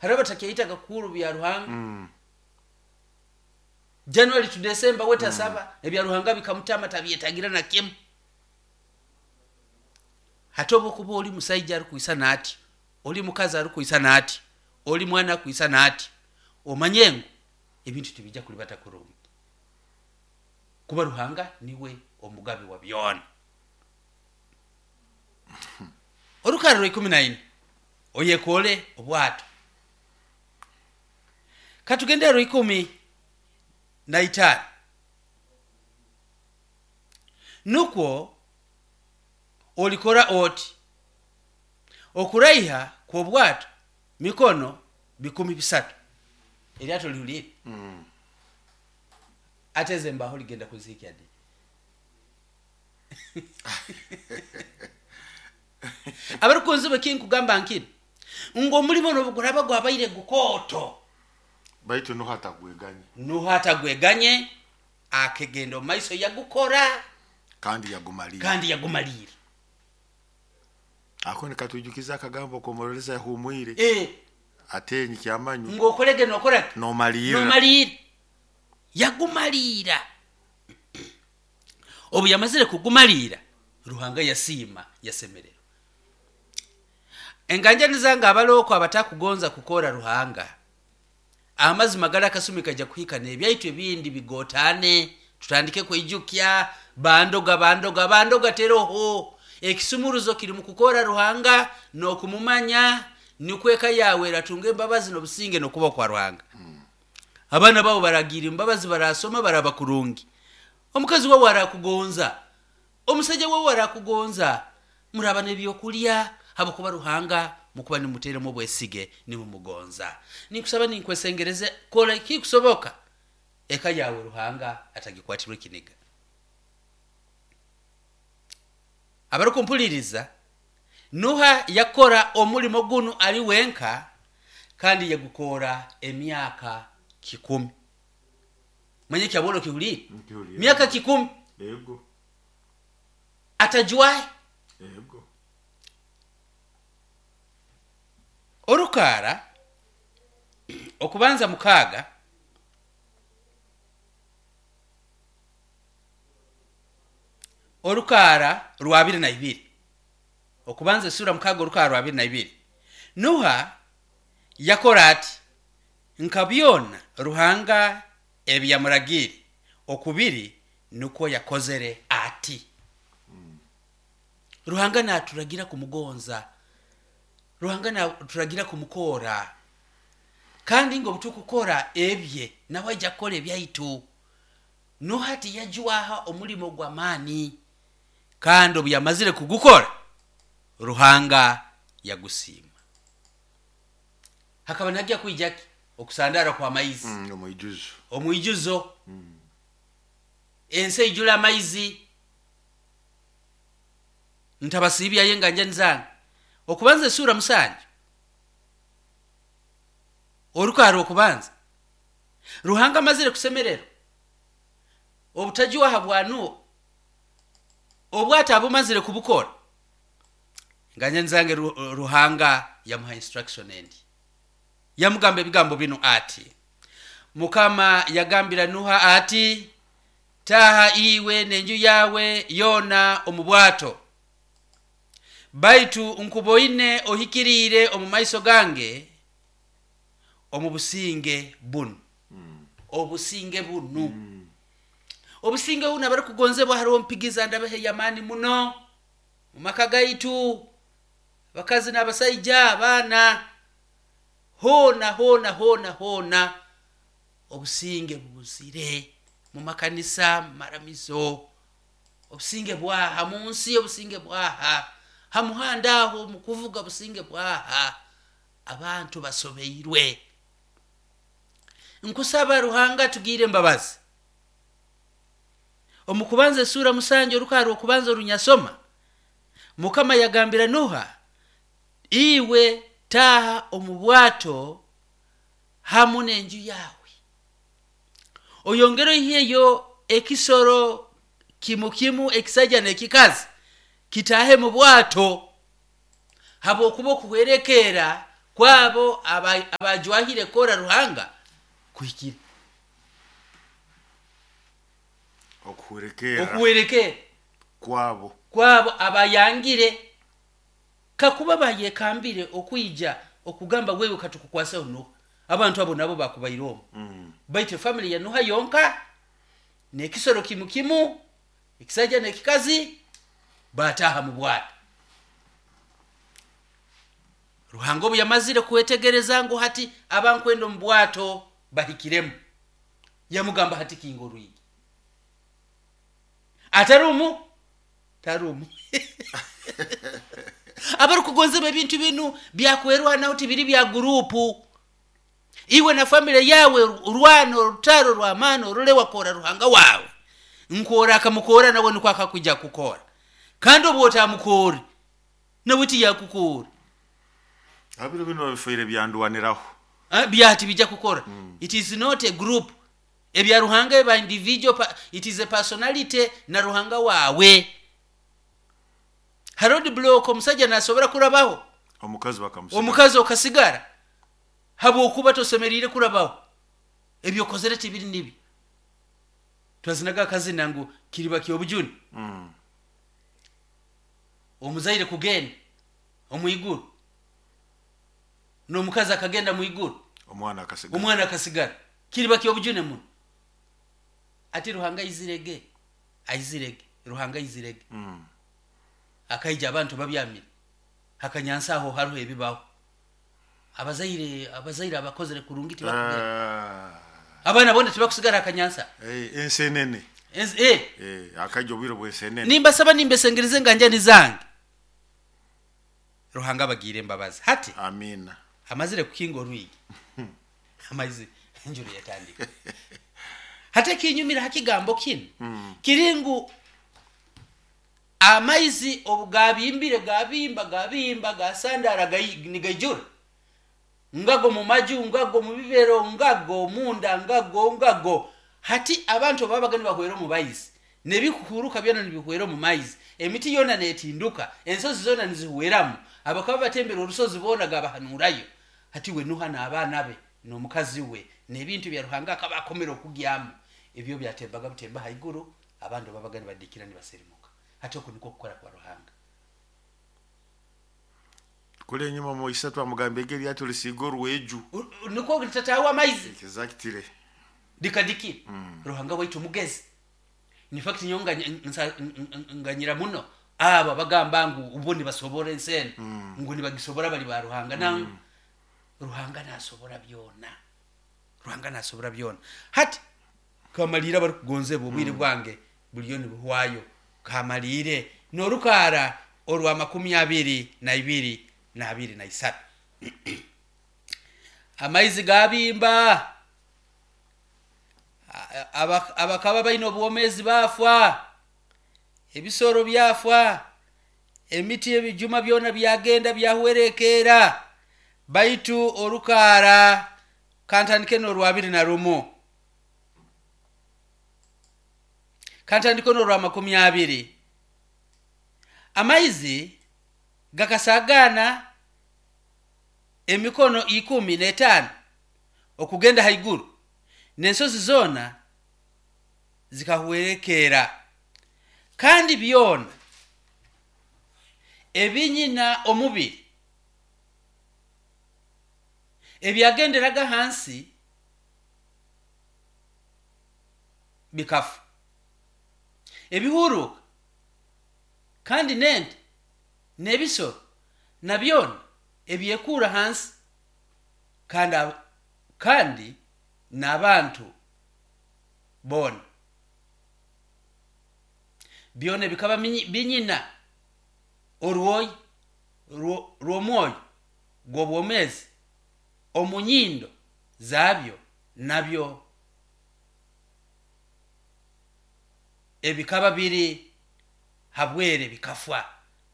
Hariho abatakyayitaga kukuru bya Ruhanga. January to December we tasaba, ebya Ruhanga bikamutama, tabyetagira na kimu. Hati obu okuba oli musaija arikwisana ati, oli mukazi arikwisana ati, oli mwana akwisana ati, omanye ngu ebintu tibijja kulibata kurungi, kuba Ruhanga niwe omugabi wa byona. Orukarra rwa 14, oyekoole obwato. Katugende ha rwa 15. Nukwo olikora oti, okuraiha kw'obwato mikono 300. Eryato lihuliire? Ate ezi embaho ligenda kuzihikya di? Abarukunzibwa, ekinkugamba nkinu ngu omulimo nobu guraba gwabaire gukooto, baitu Nuha atagweganye. Nuha atagweganye, akegenda omu maiso yagukora. Kandi yagumaliira. Kandi yagumaliira. Ako nikatwijukiza akagambo k'omuroreza yahumwire, ate nyikyamanyu ngu okolege nokora ki? Nomaliira. Nomaliira. Yagumaliira. Obu yamazire kugumaliira, Ruhanga yasiima, yasemererwa. Enganjani zange abalooko abatakugonza kukora Ruhanga, amazima gali akasumi kajja kuhika n'ebyaitu ebindi bigotane, tutandike kweijukya bandoga, bandoga, bandoga. Teroho ekisumuruzo kiri mu kukora Ruhanga n'okumumanya, nikwo eka yawe eratunga embabazi n'obusinge n'okuba kwa Ruhanga. Abaana babo baragira embabazi, barasoma, baraba kurungi. Omukazi wawe arakugonza, omusajja wawe arakugonza, muraba n'ebyokulya, habwokuba Ruhanga mukuba nimuteremu obwesige, nimumugonza. Ninkusaba, ninkwesengereze, kola ekikusoboka eka yawe Ruhanga atagikwatirwa ekiniga. Abarukumpuliriza, Nuha yakora omulimo gunu ali wenka, kandi yagukora emyaka 100. Manye kyabolo kihuliire? Nkihuliire. Myaka 100. Yego. Atajwahe. Yego. Orukaara okubanza 6, orukaara rwa 22. Okubanza esura 6, orukaara rwa 22. Nuha yakora ati nka byona Ruhanga ebi yamuragiire okubiri, nukwo yakozere ati. Ruhanga naturagira kumugonza, Ruhanga naturagira kumukora, kandi ngo obutukukora ebye nawe ajja kukora ebyaitu. Nuha tiyajwaha omulimo gw'amaani, kandi obu yamazire kugukora Ruhanga yagusiima. Hakaba nihajya kwija ki? Okusandara kw'amaizi. Omwijuzo. Omwijuzo. Ensi eijula amaizi. Ntabasiibyayo enganjani zange. Okubanza esura 7, orukaara okubanza. Ruhanga amazire kusemererwa obutajwaha bwa Nuha, obwato abumazire kubukora. Enganjani zange, Ruhanga yamuha instruction endi, yamugamba ebigambo binu ati: Mukama yagambira Nuha ati, taha iwe n'enju yawe yoona omu bwato, baitu nkuboine ohikiriire omu maiso gange omu businge bunu. Obusinge bunu, obusinge bunu, abarukugonzebwa, hariho mpigiza ndabaha ey'amaani muno mu maka gaitu, abakazi n'abasaija, abaana, hoona hoona hoona hoona obusinge bubuzire. Mu makanisa, mu maramizo obusinge bwaha? Mu nsi obusinge bwaha? Ha muhanda aho mu kuvuga obusinge bwaha? Abantu basobeirwe. Nkusaba Ruhanga tugiire embabazi. Omu kubanza esura 7, orukaara okubanza orunyasoma, Mukama yagambira Nuha, iwe taaha omu bwato hamu n'enju yawe, oyongere oiheyo ekisoro kimu kimu, ekisaija n'ekikazi, kitaahe mu bwato, habwokuba okuhwerekeera. Kwabo abajwahire kora Ruhanga kuhikire. Okuhwerekera. Okuhwerekera. Kwabo. Kwabo abayangire kakuba bayekambire okwija okugamba wewe katukukwaseho Nuha. Abantu abo nabo bakubaire omu. Baitu family ya Nuha yonka nekisoro kimu kimu ekisajja nekikazi bataha mu bwato. Ruhanga obu yamazire kwetegereza ngu hati abankwenda omu bwato bahikiremu, yamugamba hati kinga orwigi. Atarumu? Tarumu. Abarukugonzebwa ebintu binu byakwerwanaho tibiri bya gurupu. Iwe na family yawe urwana orutaro rw'amaani orole wakora Ruhanga wawe. Nkora akamukora nawe nukwo akakuja kukora. Kandi obu otamukore nawe tiyakukora. Abiro bino babifaire byandwaniraho. Byati bijja kukora. It is not a group. Ebya Ruhanga eba individual, it is a personality na Ruhanga wawe. Harold block omusajja nasobora kurabaho. Omukazi bakamusigara. Omukazi okasigara. Habwokuba tosemerire kurabaho. Ebyo kozere tibiri nibi. Twazinaga akazina ngu kiriba ky'obujuni. Omuzaire kugenda omu iguru. N'omukazi akagenda mu iguru. Omwana akasigara. Omwana akasigara. Kiriba ky'obujune muno. Ati Ruhanga aizirege. Aizirege. Ruhanga aizirege. Akaija abantu babyamire. Hakanyansa aho hariho ebibaho. Abazaire abakozere kurungi tibakugenda. Abaana bona tibakusigara hakanyansa. Ensenene. Akaija obwire bw'ensenene. Nimbasaba nimbesengereze nganjani zange. Ruhanga abagire embabazi. Hati. Amina. Amazire kukinga orwigi. Amaizi enjuru yatandika. Hati ekinyumira hakigambo kinu. Kiringu amaizi obugabimbire gabimba gabimba gasandara nigaijura. Ngago mu maju, ngago mu bibero, ngago munda, ngago ngago. Hati abantu babaga nibahwera omu maizi. Nebikuhuruka byona nibihwera omu maizi. Emiti yona netinduka, ensozi zona nizihweramu. Abakaba batembera orusozi bona gabahanurayo. Hati we Nuha n'abaana be n'omukazi we n'ebintu bya Ruhanga akaba akomera okugyamu. Ebyo byatembaga butemba haiguru, abantu babaga nibadikira nibasirimuka. Hati okwo nikwo kukora kwa Ruhanga. Kule enyuma mu isatu amugamba egeri yatulisiga orweju. Nikwo litatawa amaizi. Exactly. Dikadiki. Ruhanga waitu mugezi. In fact nyonga nganyira muno aba bagamba ngu ubo nibasobora ensene. Ngu nibagisobora bali ba Ruhanga. Na Ruhanga nasobora byona. Ruhanga nasobora byona. Hati kamalira bari kugonzebwa obwire bwange buliyo nibuhwayo. Kamalire norukara orwa 22 na 23. Amaizi gabimba. Abakaba baine obwomezi bafwa. Ebisoro byafwa. Emiti ebijuma byona byagenda byahwerekera. Baitu orukara kantandike n'orwa 21. Kantandike n'orwa 20. Amaizi gakasagana emikono 15 okugenda haiguru. N'ensozi zona zikahwerekera. Kandi byona ebinyina omubiri ebyagenderaga hansi bikafa. Ebihuruka kandi nente n'ebisoro na byona ebyekura hansi kandi n'abantu bona byona bikaba binyina orwoyi rw'omwoyo gw'obwomezi omunyindo zabyo nabyo ebikaba biri habwere bikafwa.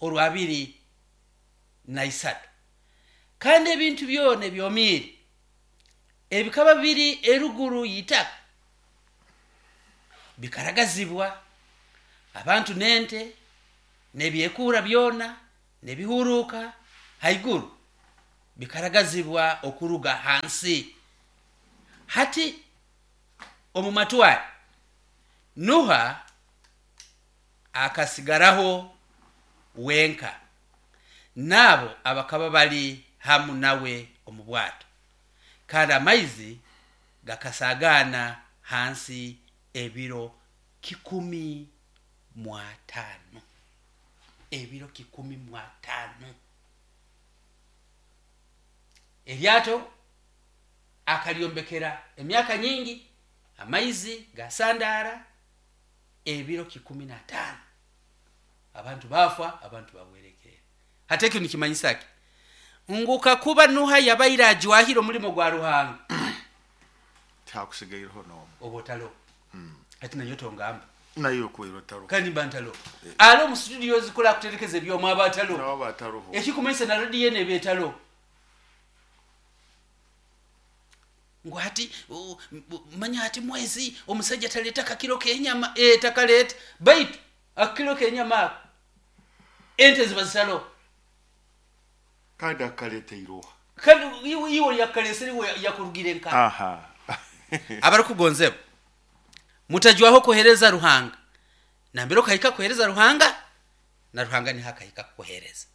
Orwa 23. Kandi ebintu byona ebyomiire ebikaba biri eruguru y'itaka bikaragazibwa. Abantu n'ente n'ebyekura byona n'ebihuruka haiguru. Bikaragazibwa okuruga hansi. Hati omu matware Nuha akasigaraho wenka n'abo abakaba bali hamu nawe omu bwato, kandi amaizi gakasagaana hansi ebiro 150. Ebiro 150. Eryato akaryombekera emyaka nyingi, amaizi gasandaara ebiro 150. Abantu bafa, abantu bahwerekerera. Hati ekyo nikimanyisa ki? Ngu kakuba Nuha yabaire ajwahire omulimo gwa Ruhanga, Tihakusigaireho n'omu. Oba otaloho. Hati nanyowe tongamba. Nayo okubaire otaloho. Kandi mba ntaloho. Ali omu studio zikora kuterekeza ebyoma aba ataloho. Nawe aba ataloho. Ekikumanyisa na rediyo eno eba etaloho. Ngu hati manya hati mwezi omusajja taleta kakiro k'enyama, takaleta, baitu akakiro k'enyama ako ente ziba zitaloho. Kandi akaleeta iroha. Kandi iwe yakalesere, iwe yakurugire nka. Abarukugonzebwa, mutajwaho kuhereza Ruhanga. Nambere okahika kuhereza Ruhanga, na Ruhanga niho akahika kukuhereza.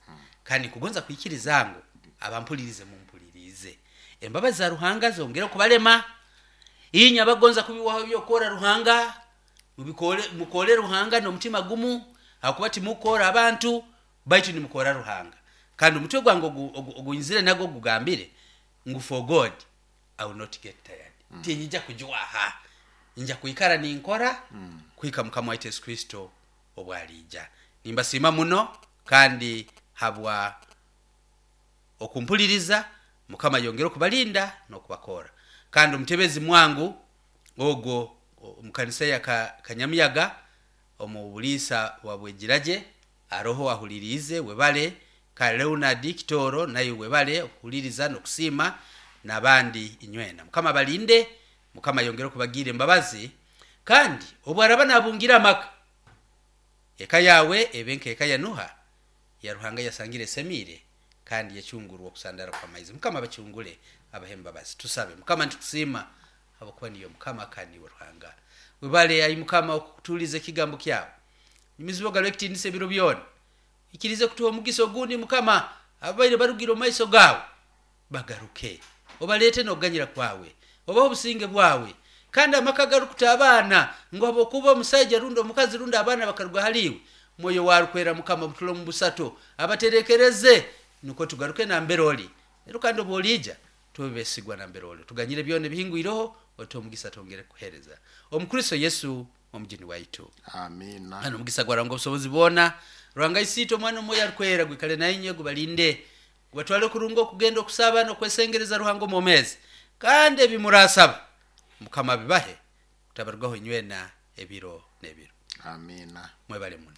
Kandi nkugonza kwikiriza ngu abampulirize mumpulirize. Embabazi za Ruhanga zongere kubalema. Inye abagonza kubiwaho ebyokora Ruhanga, mukore Ruhanga n'omutima gumu, hakuba timukora abantu, baitu nimukora Ruhanga. Kandi omutwe gwange ogunyizire nago gugambire ngu for God I will not get tired. Tinyija kujwaha. Nja kwikara ninkora kuhika Mukama waitu Yesu Kristo obwaliija. Nimbasiima muno kandi habwa okumpuliriza. Mukama yongere okubalinda n'okubakora. Kandi omutebezi mwangu ogwo omu kanisa ya Kanyamiyaga omu buliisa bwa Bwegiragye aroho ahuliriize, webale. Ka Leonard Kitoro naye webale okuhuliriza n'okusiima, n'abandi inywena. Mukama abalinde, Mukama yongere okubagira embabazi, kandi obu araba nabungira amaka, eka yawe ebe nk'eka ya Nuha ya Ruhanga yasangire esemiire kandi yacungurwa okusandara kw'amaizi. Mukama abacungule, abahe embabazi. Tusabe. Mukama, nitukusiima habwokuba niyo Mukama kandi niwe Ruhanga. Webale ai Mukama okutuliza ekigambo kyawe. Nyumizibo galo ekitiinisa ebiro byona. Ikirize kutuha omugisa ogundi Mukama, ababaire barugire omu maiso gawe bagaruke. Obaleete n'okuganyira kwawe, obahe obusinge bwawe. Kandi amaka garukuta abaana ngu habwokuba omusaija rundi omukazi rundi abaana bakaruga hali iwe, mwoyo warukwera Mukama butula omu busato abaterekereze, nukwo tugaruke nambere oli. Rero kandi obu oliija tube besigwa nambere oli. Tuganyire byona ebihingwireho, otuhe omugisa twongere kukuheereza. Omu Kristo Yesu omujuni waitu. Amina. Kandi omugisa gwa Ruhanga obusobozi bwona, Ruhanga Isiitwe, Omwana, Omwoyo Arukwera gwikale na inywe, gubalinde, gubatwale kurungi okugenda okusaba n'okwesengereza Ruhanga omwomeezi. Kandi ebi murasaba Mukama abibahe, kutabarugaho inywena ebiro n'ebiro. Amina. Mwebale muno.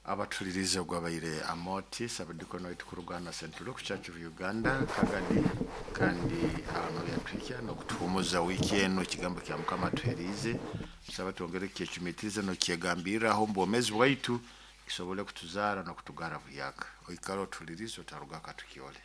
Abatulirize, ogwabaire Amoti sabadikoni waitu kuruga na St. Luke Church of Uganda Kagadi, kandi ano yatuhikya n'okutuhumuza wiiki eno. Ekigambo kya Mukama atuheriize, tusaba twongere kukyecumitiriza n'okukyegambirraho omu bwomeezi bwaitu, kisobole kutuzaara n'okutugara buhyaka. Oikara otulirize, otaruga katukyole.